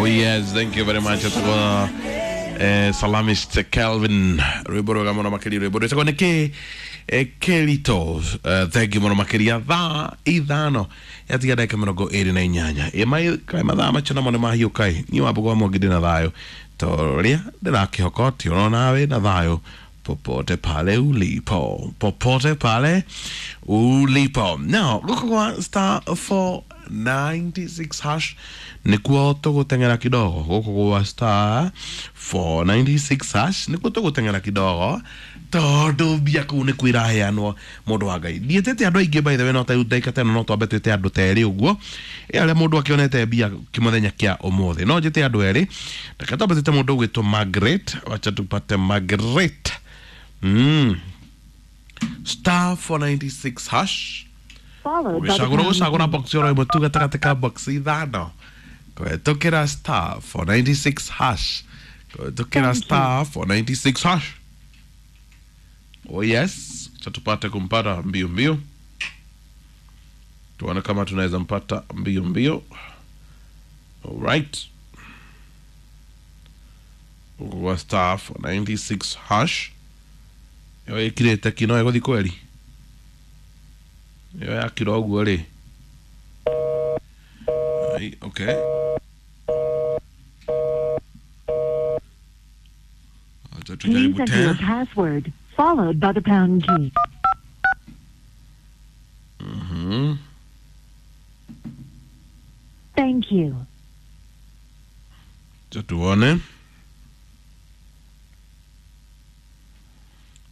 Oh yes, thank you very much. Etagwo Salamist Kelvin, rwimbo rwega muno makiria, rwimbo rwitagwo niki Kelito. Thank you muno makiria. Thaa 5 yatiga ndagika 28. Ĩ kaĩ mathaa macio namo nĩ mahiũka ĩ. Niĩ Wambũgũ wa Mwangi ndĩ na thayũ toria ndĩrakĩhoka atĩ ona nawe na thayũ popote pale ulipo, popote pale ulipo. Now gũkũ kwa star 496 hash nĩkuo tũgũteng'era kidogo. Gũkũ gwa star 496 hash nĩkuo tũgũteng'era kidogo tondũ mbia kũu nĩkuo iraheanwo, mũndũ wa Ngai. Ndiĩtĩte andũ aingĩ, by the way, no ta rĩu ndagĩka ta ĩno no twambe twĩte andũ ta erĩ ũguo, ĩ arĩa mũndũ akĩonete mbia kĩmũthenya kĩa ũmũthĩ. No njĩte andũ erĩ. Reke twambe twĩte mũndũ ũgwĩtwo Margaret. Wacha tupate Margaret. Star 496 hash. Followed by the ũgĩcagũra pound gũcagũra key. Box oro ĩmwe tu gatagatĩ ka box ithano kũhetũkĩra star 496 hash, kũhetũkĩra Thank you. star 496 hash. Oh yes, acha tupate kumpata mbio mbio, tuone kama tunaweza mpata mbio mbio. Alright, huko kwa star 496 hash ĩyo ĩkirĩte kino ĩgũthiĩ kweri ĩyo yakira ũguo rĩ. Ai, okay. Acha Please tujaribu enter your tena. password, followed by the pound key. Thank you. Acha tuone,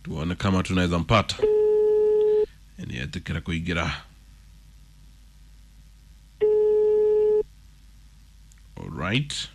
tuone kama tunaweza mpata. Nietĩkĩra kũingĩra. Alright.